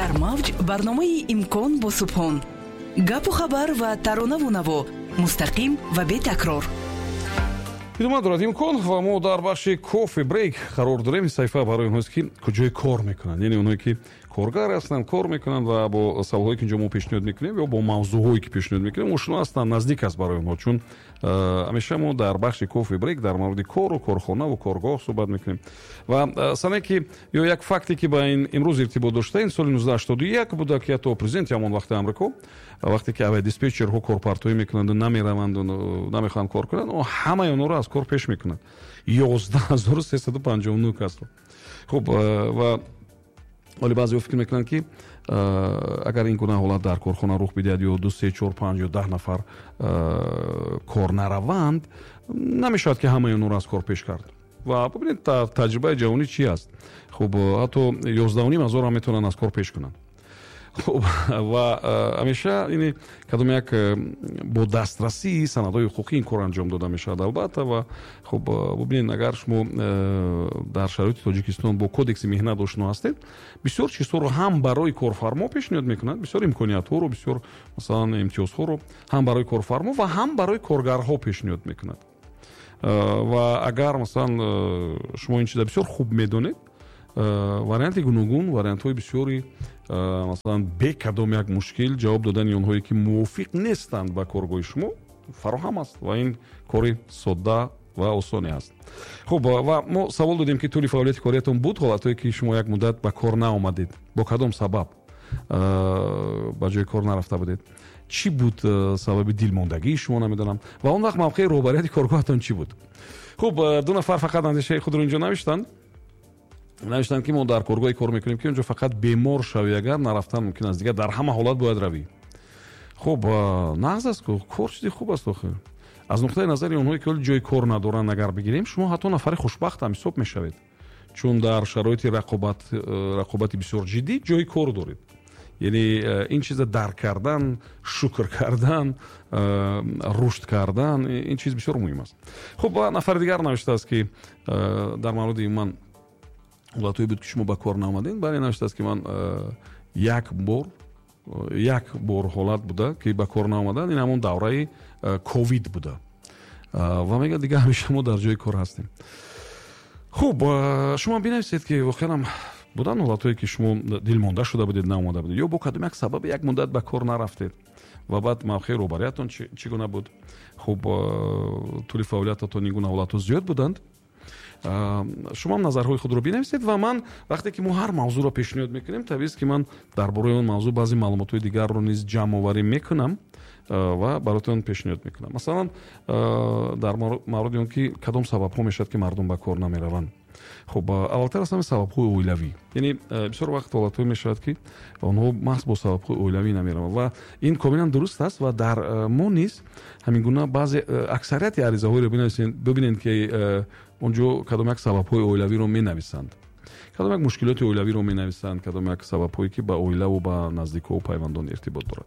Дар мавҷ барномаи «Имкон» бо Субҳон. Гапу хабар ва таронаву наво, мустақим ва бетакрор. Идома дорад «Имкон» ва мо дар бахши кофе брейк қарор дорем. Ин саҳифа барои онҳоест, ки куҷои кор мекунанд, яъне онҳое, ки коргар ҳастанд, кор мекунанд ва бо саволҳое, ки инҷо мо пешниҳод мекунем, ё бо мавзӯъҳое, ки пешниҳод мекунем, ошно ҳастанд, наздик аст барои онҳо, чун ҳамеша мо дар бахши кофе брейк дар мавриди кору корхонаву коргоҳ суҳбат мекунем. Ва сане ки ё як факте, ки ба ин имрӯз иртибот дошта, ин соли 1981 буда, ки ҳатто президенти ҳамон вақти Амрико, вақте ки авиадиспетчерҳо корпартоӣ мекунанду намераванду намехоҳанд кор кунанд, ҳамаи онҳоро аз кор пеш мекунад, 11 359 касро. Хуб, ва ҳоле баъзеҳо фикр мекунанд, ки агар ин гуна ҳолат дар корхона рух бидиҳад ё ду, се, чор, панҷ ё 10 нафар кор нараванд, намешавад, ки ҳамаи онҳоро аз кор пеш кард. Ва бибинед, таҷрибаи ҷаҳонӣ чӣ аст. Хуб, ҳатто 11,5 ҳазорам метавонанд аз кор пеш кунанд. Хуб, ва ҳамеша ини кадом як бо дастрасии санадҳои ҳуқуқӣ ин кор анҷом дода мешавад, албатта. Ва хуб, бубинед, агар шумо дар шароити Тоҷикистон бо Кодекси меҳнат ошно ҳастед, бисёр чизҳоро ҳам барои корфармо пешниҳод мекунад, бисёр имкониятҳоро, бисёр, масалан, имтиёзҳоро ҳам барои корфармо ва ҳам барои коргарҳо пешниҳод мекунад. Ва агар, масалан, шумо ин чиза бисёр хуб медонед, варианти гуногун, вариантҳои бисёри, масалан, бе кадом як мушкил ҷавоб додани онҳое, ки мувофиқ нестанд ба коргоҳи шумо, фароҳам аст ва ин кори содда ва осоне аст. Хуб, ва мо савол додем, ки тӯли фаъолияти кориятон буд ҳолатҳое, ки шумо як муддат ба кор наомадед? Бо кадом сабаб ба ҷои кор нарафта будед? Чӣ буд сабаби дилмондагии шумо, намедонам, ва он вақт мавқеи роҳбарияти коргоҳатон чӣ буд? Хуб, ду нафар фақат андешаи худро инҷо навиштанд. Навиштанд, ки мо дар коргоҳе кор мекунем, ки онҷо фақат бемор шавӣ, агар нарафтан мумкин аст, дигар дар ҳама ҳолат бояд равӣ. Хуб, нағз аст, кор чизи хуб аст. Охир, аз нуқтаи назари онҳое, ки ҳоли ҷои кор надоранд, агар бигирем, шумо ҳатто нафари хушбахт ҳам ҳисоб мешавед, чун дар шароити рақобати бисёр ҷиддӣ ҷои кор доред. Яъне ин чиза дарк кардан, шукр кардан, рушд кардан, ин чиз бисёр муҳим аст. Хуб, нафари дигар навиштааст, ки дар мавриди ман ҳолатҳое буд, ки шумо ба кор наомадед. Бале, навиштааст, ки ман як бор ҳолат буда, ки ба кор наомадан, ин ҳамон давраи ковид буда. Ва мегӯяд, дигар ҳамеша мо дар ҷои кор ҳастем. Хуб, шумо бинависед, ки воқеан буданд ҳолатҳое, ки шумо дилмонда шуда будед, наомада будед ё бо кадом як сабаб як муддат ба кор нарафтед ва баъд мавқеи роҳбариятон чӣ гуна буд? Хуб, тӯли фаъолиятатон ин гуна ҳолатҳо зиёд буданд? Шумо назарҳои худро бинависед. Ва ман, вақте ки мо ҳар мавзӯъро пешниҳод мекунем, табиист, ки ман дар бораи он мавзӯъ баъзе маълумотҳои дигарро низ ҷамъоварӣ мекунам ва баротон пешниҳод мекунам. Масалан, дар мавриди он ки кадом сабабҳо мешавад, ки мардум ба кор намераванд. Хуб, аввалтар аз ҳама сабабҳои оилавӣ, яъне бисёр вақт ҳолатҳое мешавад, ки онҳо маҳз бо сабабҳои оилавӣ намераванд ва ин комилан дуруст аст. Ва дар мо низ ҳамин гуна баъзе, аксарияти аризаҳоеро бибинед, ки он ҷо кадом як сабабҳои оилавиро менависанд, кадом як мушкилоти оилавиро менависанд, кадом як сабабҳое, ки ба оилаву ба наздикҳову пайвандон иртибот дорад.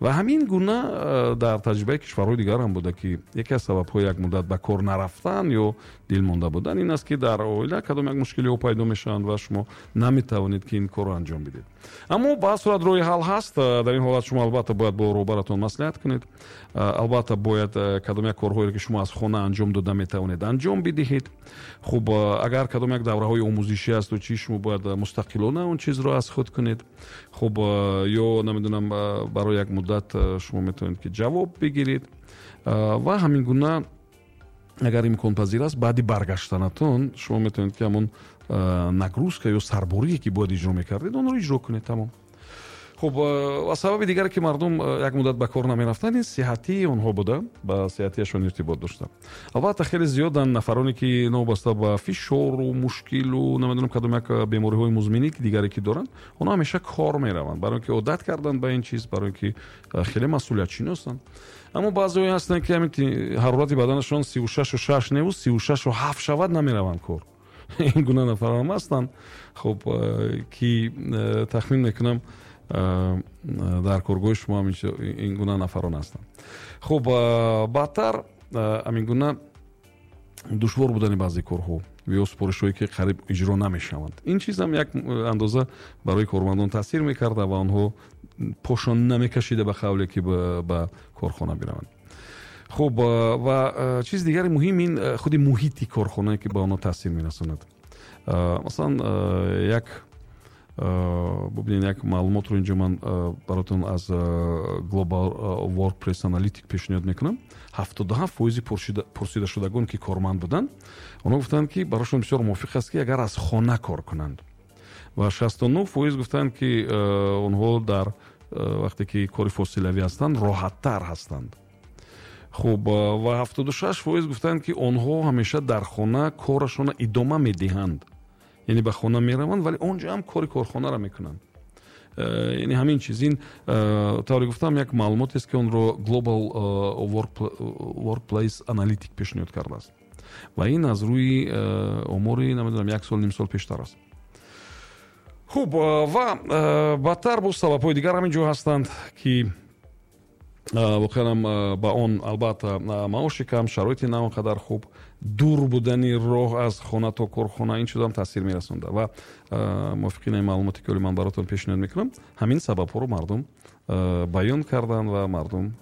Ва ҳамин гуна дар таҷрибаи кишварҳои дигар ҳам буда, ки яке аз сабабҳои як муддат ба кор нарафтан ё дилмонда будан ин аст, ки дар оила кадом як мушкилиҳо пайдо мешаванд ва шумо наметавонед, ки ин корро анҷом бидед. Аммо ба ҳар сурат роҳи ҳал ҳаст. Дар ин ҳолат шумо албатта бояд бо роҳбаратон маслиҳат кунед, албатта бояд кадом як корҳоеро, ки шумо аз хона анҷом дода метавонед, анҷом бидиҳед. Хуб, агар кадом як давраҳои омӯзишӣ асту чӣ, шумо бояд мустақилона он чизро аз худ кунед. Хуб, ё намедонам, барои як муддат шумо метавонед, ки ҷавоб бигиред ва ҳамин гуна, агар имконпазир аст, баъди баргаштанатон шумо метавонед, ки ҳамон нагрузка ё сарборие, ки бояд иҷро мекардед, онро иҷро кунед, тамом. Хуб, ва сабаби дигаре, ки мардум як муддат ба кор намерафтанд, ин сиҳатии онҳо буда, ба сиҳатияшон иртибот дошта. Албатта, хеле зиёданд нафароне, ки новобаста ба фишору мушкилу, намедонам, кадом як бемориҳои музминӣ дигаре, ки доранд, онҳо ҳамеша кор мераванд, барои он ки одат карданд ба ин чиз, барои он ки хеле масъулиятшиносанд. Аммо баъзеҳое ҳастанд, ки ҳамин ҳарорати баданашон 36,6 неву 36,7 шавад, намераванд кор. Ин гуна нафарам ҳастанд. Хуб, ки тахмин мекунам, дар коргоҳи шумо ин гуна нафарон ҳастанд. Хуб, баъдтар ҳамин гуна душвор будани баъзе корҳо. Ё супоришҳое, ки қариб иҷро намешаванд. Ин чизам як андоза барои кормандон таъсир мекарда ва онҳо пошон намекашида, ба қавле, ки ба корхона бираванд. Хуб, ва чизи дигари муҳим ин худи муҳити корхонае, ки ба онҳо таъсир мерасонад. Масалан, як бубинед, як маълумотро инҷо ман баротон аз Global Workplace Analytic пешниҳод мекунам. 77% пурсидашудагон, ки корманд буданд, онҳо гуфтанд, ки барошон бисёр мувофиқ аст, ки агар аз хона кор кунанд, ва 69% гуфтанд, ки онҳо дар вақте ки кори фосилавӣ ҳастанд, роҳаттар ҳастанд. Хуб, ва 76% гуфтанд, ки онҳо ҳамеша дар хона корашонро идома медиҳанд, яъне ба хона мераванд, вале он ҷо ҳам кори корхонаро мекунанд. Яъне ҳамин чиз, ин, тавре гуфтам, як маълумотест, ки онро Global Workplace Analytic пешниҳод кардааст, ва ин аз рӯи омори, намедонам, як сол, ним сол пештар аст. Хуб, ва баъдтар боз сабабҳои дигар ҳамин ҷо ҳастанд, ки воқеан ба он, албатта, маоши кам, шароити на он қадар хуб, дур будани роҳ аз хона то корхона, ин чизам таъсир мерасонда. Ва мувофиқи ин маълумоте, ки ман баротон пешниҳод мекунам, ҳамин сабабҳоро мардум баён карданд ва мардум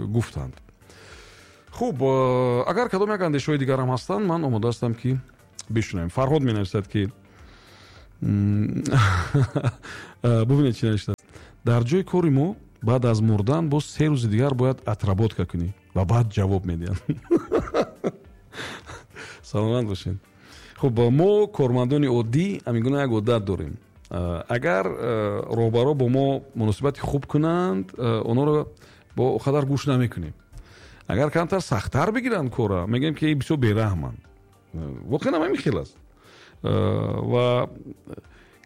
гуфтанд. Хуб, агар кадом як андешаҳои дигарам ҳастанд, ман омода ҳастам, ки бишунавем. Фарҳод менависад, ки, бубинед, чӣ навиштааст: «Дар ҷои кори мо баъд аз мурдан боз 3 рӯзи дигар бояд отработка кунӣ ва баъд ҷавоб медиҳанд». Саломат бошед. Хуб, мо, кормандони оддӣ, ҳамин гуна як одат дорем: агар роҳбаро бо мо муносибати хуб кунанд, онҳоро бо қадар гӯш намекунем. Агар камтар сахттар бигиранд кора, мегӯем, ки бисёр бераҳманд. Воқеан ҳам ҳамин хел аст. Ва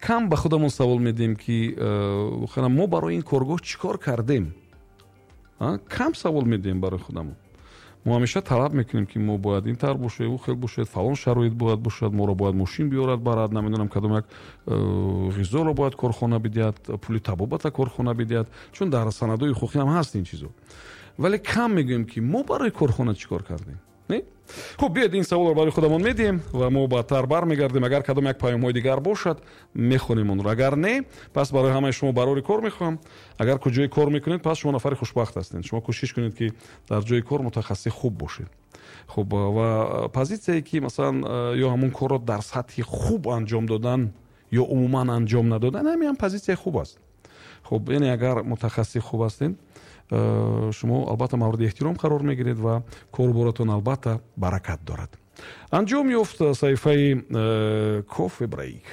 кам ба худамон савол медиҳем, ки воқеан мо барои ин коргоҳ чӣ кор кардем. Кам савол медиҳем барои худамон. Мо ҳамеша талаб мекунем, ки мо бояд ин тавр бошед, ӯ хел бошед, фалон шароит бояд бошад, моро бояд мошин биёрад барад, намедонам, кадом як ғизоро бояд корхона бидиҳад, пули табобата корхона бидиҳад, чун дар санадҳои ҳуқуқӣ ҳам ҳаст ин чизо. Вале кам мегӯем, ки мо барои корхона чӣ кор кардем. Не, хуб, биёед, ин саволро барои худамон медиҳем ва мо баъдтар бармегардем. Агар кадом як паёмҳои дигар бошад, мехонем онро, агар не, пас барои ҳамаи шумо барори кор мехоҳам. Агар куҷое кор мекунед, пас шумо нафари хушбахт ҳастед. Шумо кӯшиш кунед, ки дар ҷои кор мутахассиси хуб бошед. Хуб, ва позитсияе, ки масалан ё ҳамон корро дар сатҳи хуб анҷом додан ё умуман анҷом надодан, ҳамин ҳам позитсияи хуб аст. Хуб, яъне агар мутахассиси хуб ҳастед, шумо албатта мавриди эҳтиром қарор мегиред ва коруборатон албатта баракат дорад. Анҷом ёфт саҳифаи кофе брейк.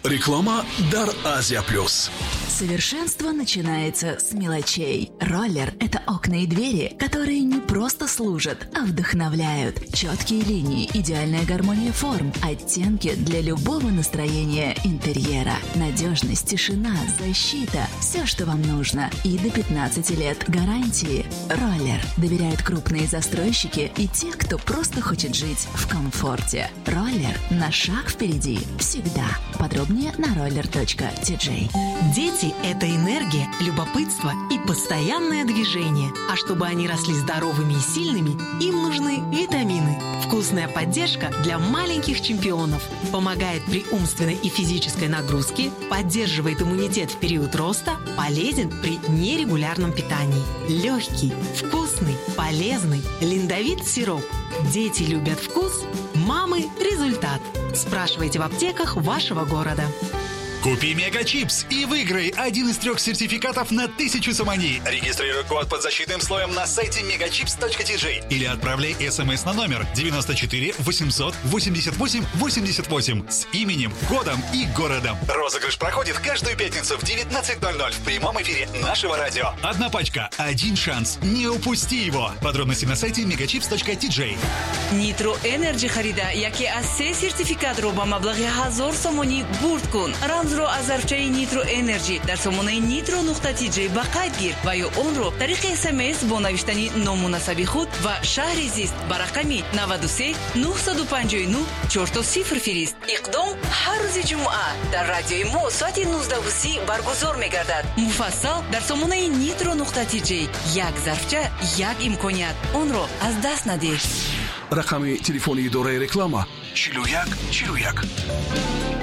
Реклама дар Азия Плюс. Совершенство начинается с мелочей. Роллер – это окна и двери, которые не просто служат, а вдохновляют. Четкие линии, идеальная гармония форм, оттенки для любого настроения интерьера. Надежность, тишина, защита – все, что вам нужно. И до 15 лет гарантии. Роллер. Доверяют крупные застройщики и те, кто просто хочет жить в комфорте. Роллер на шаг впереди. Всегда. Подробнее на roller.tj. Дети – это энергия, любопытство и постоянное движение. А чтобы они росли здоровыми и сильными, им нужны витамины. Вкусная поддержка для маленьких чемпионов. Помогает при умственной и физической нагрузке, поддерживает иммунитет в период роста, полезен при нерегулярном питании. Легкий, вкусный, полезный Линдовит сироп. Дети любят вкус, мамы – результат. Спрашивайте в аптеках вашего города. Купи Мегачипс и выиграй один из трех сертификатов на 1000 сомони. Регистрируй код под защитным слоем на сайте megachips.tj или отправляй смс на номер 94 888 88 с именем, годом и городом. Розыгрыш проходит каждую пятницу в 19.00 в прямом эфире нашего радио. Одна пачка, один шанс. Не упусти его. Подробности на сайте megachips.tj. Нитро Энерджи харида яке аз се сертификатро ба маблағи 1000 сомонӣ бурд кун. Рамзро аз зарфчаи Нитро Энерджи дар сомонаи nitro.tj ба қайд гир ва ё онро тариқи СМС бо навиштани ному насаби худ ва шаҳри зист ба рақами 93 959 00 фирист. Иқдом ҳар рӯзи ҷумъа дар радиои мо соати 19:30 баргузор мегардад. Муфассал дар сомонаи nitro.tj. Як зарфча, як имконият, онро аз даст надиҳ. Рақами телефони идораи реклама 41 41.